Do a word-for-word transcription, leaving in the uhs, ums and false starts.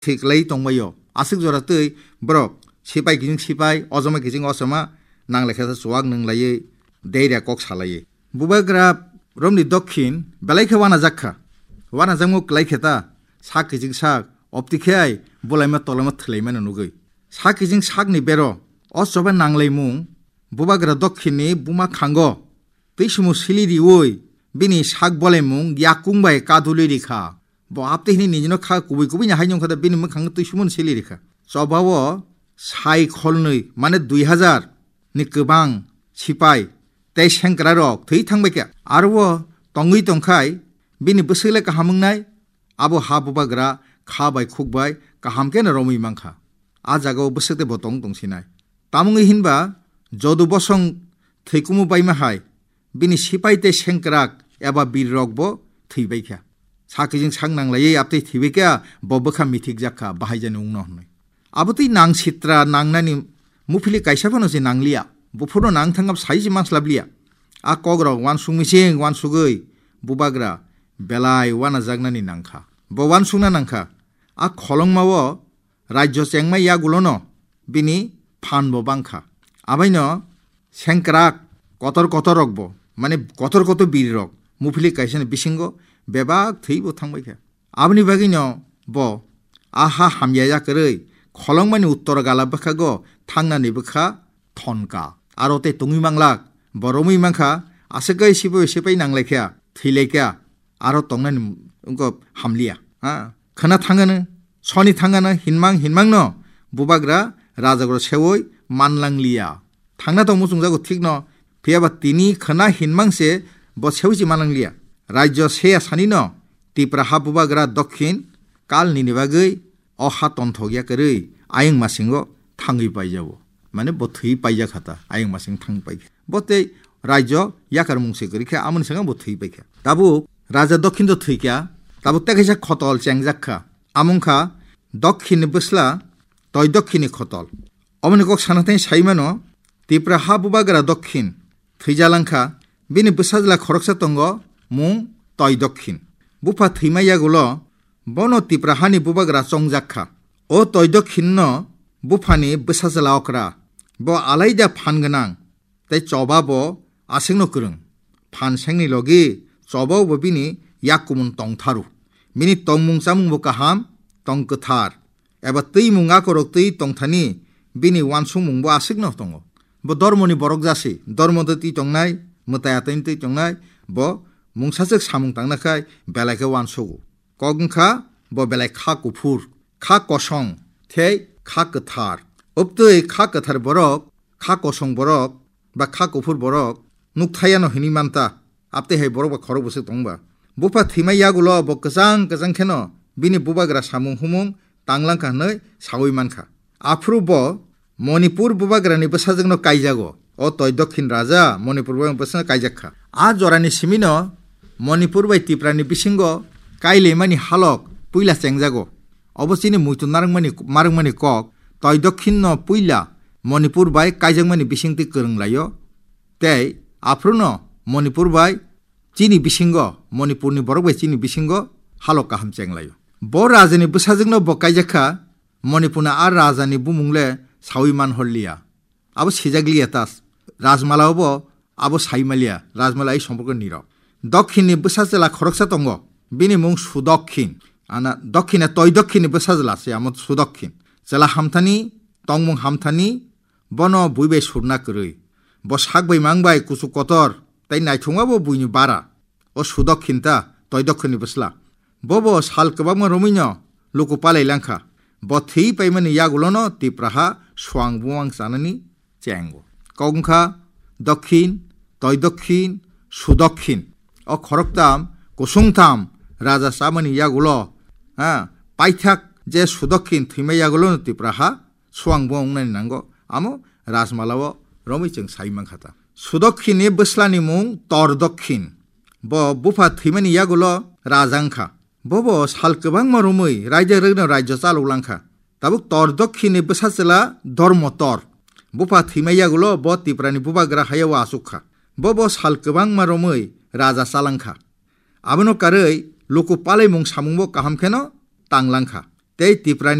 thwi kwlai tongbaio. Aswk jora twi borok sipai kiching sipai, ochoma kiching ochoma, nang lekha chuwak nung laiwi, deira kok salaiwi. Bubagra romni dokhin belai khe wanajak kha. Wanajakmung kwlai khe ta, sak kiching sak, opti khe ai bulaima tolaima thwlaimano nugwi. Sak kiching sakni bero, o choba nanglaimung, Bubagra dokhinni buma khango, twi sumu sili riwi, bini sak bolaimung yakung bai kadulwi rikha. Bo apte hini nijino kha kubui kubui ni hai nungkha da bini mwkhang twi sumun sili rikha. Chobao sai kholnwi, mane dui hazar ni kwbang sipai tei sengkra rok thwi thangbai kha. Aro tongwi tongkhai bini bwswk le kaham wngnai, abo ha Bubagra kha bai khuk bai kaham khe no romwi mankha. A jagao bwswk tei bo tong tong sinai. Tamungwi hinba jodu bosong thwikumu baima hai bini sipai tei sengkrak eba bir rok bo thwi bai kha. Sakijing sak nang laiwi aptwi thwi bai kha, bo bwkha mithik jak kha, bahai jani wngno hwnwi. Abo twi nang sitra nangnani muphili kaisa phano se nangliya. Buphurno nang thangab sai se manslap liya. A kok rok wansuk mising wansugwi Bubagra belai wanajaknani nangkha. Bo wansukna nangkha. A kholongmao rajyo chengma yagulono bini phan bo bangkha. Abaino sengkrak kotor kotor rok bo, mane kotor kotor bir rok, muphili kaisa ni bisingo bebak thwi bo thangbai kha. Aboni bagwino bo a ha hamya yakarwi kholongmani uttor gala bwkhago thangnani bwkha thonka. Aro tei tongwi manglak, bo romwi mankha, aswk kai sipai sipai nanglai kha, thwi lai kha, aro tongnani wngkha hamliya. Ha? Khwna thangano, soni thangano, hinmang hinmangno Bubagra rajagro sewi manlangliya. Thangna tong muchungjago thikno, phiyaba tini khwna hinmang se bo sewi se manlangliya. Rajyo seya sanino Tipra ha Bubagra Dokhin kal nini bagwi o ha tonthok yakarwi ayang masingo thangwi paijao. Mane bo thwi paijak kha ta, ayang masing thang pai kha. Bo tei rajyo yakarmung se kwrwi kha, amoni saka bo thwi pai kha. Tabuk raja Dokhin to thwi kha, tabuk tei kaisa khotol chengjak kha. Amung kha Dokhinni bwsla Toi Dokhinni khotol. Oboni kok sana thai sai mano, Tipra ha Bubagra Dokhin thwijalang kha, bini bwsajla khoroksa tongo, mung Toi Dokhin. Bupha thwima yagulo bono Tipra hani Bubagra chongjak kha. O Toi Dokhinno buphani bwsajla okra, bo alaida phan gwnang, tei choba bo aswkno kwrwng. Phan sengni logi chobao bo bini yak kumun tongtharu. Bini tongmung chamung bo kaham, tong kwthar. Eba twimung akorok twi tongthani bini wansukmung bo aswkno tongo. Bo dormoni borok jasi, dormo twi twi tongnai, mwtai atani twi tongnai, bo mungsaswk samung tangna khai belai khe wansugo. Kok wngkha bo belai kha kuphur, kha kosong, tei kha kwthar. Obtwi kha kwthar borok, kha kosong borok, ba kha kuphur borok nukthayano hinwi manta, aptwi hai borok ba khorok bwswk tongba. Bupha thwima yagulo bo kwchang kwchang kheno bini bubagra samung humung tanglangkha hwnwi sawi mankha. Aphuru bo Manipur bubagrani bwsajwkno kaijago. O Toi Dokhin raja Manipur bubagrani bwsajwkno kaijak kha. A jorani simino Manipur bai Tiprani bisingo kailaimani halok puila chengjago. Obo chini muitu narwkmani, marwkmani kok, Toi Dokhinno puila Manipur bai kaijakmani bisingtwi kwrwng laio, tei aphuruno Manipur bai chini bisingo, Manipurni borok bai chini bisingo halok kaham cheng laio. Bo rajani bwsajwkno bo kaijak kha, Manipurni a rajani bumung le sawi man hor liya. Abo sijak liya ta, Rajmala bo abo sai maliya, Rajmala ai somporko nirok. Dokhinni bwsa chwla khoroksa tongo, bini mung Sudokhin. Ana Dokhina Toi Dokhinni bwsa chwla se amo Sudokhin. Chwla hamthani, tongmung hamthani, bono bui bai surna kwrwi. Bo sak bai mang bai kuchuk kotor, tei naithokma bo buini bara. O Sudokhin ta Toi Dokhinni bwsla. Bobo sal kwbangma romwino luku palai langkha. Bo thwi paimani yagulono Tipraha swang buwang chanani chengo. Kok wngkha Dokhin, Toi Dokhin, Sudokhin. O khoroktham, kusungtham raja chamani yagulo, ha, paithak je Sudokhin thwima yagulono Tipraha swang bo wngnani nango, amo Rajmala o romwi chwng sai mankha ta. Sudokhinni bwslani mung Tor Dokhin. Bo bupha thwimani yagulo raja wngkha. Bobo sal kwbangma romwi raida rwgno rajyo chalok langkha. Tabuk Tor Dokhinni bwsa chwla Dormo Tor. Bupha thwima yagulo bo Tiprani bubagra hayao achuk kha. Bobo sal kwbangma romwi raja chalangkha. Abono karwi luku palaimung samungbo kaham kheno tanglangkha. tei Tipra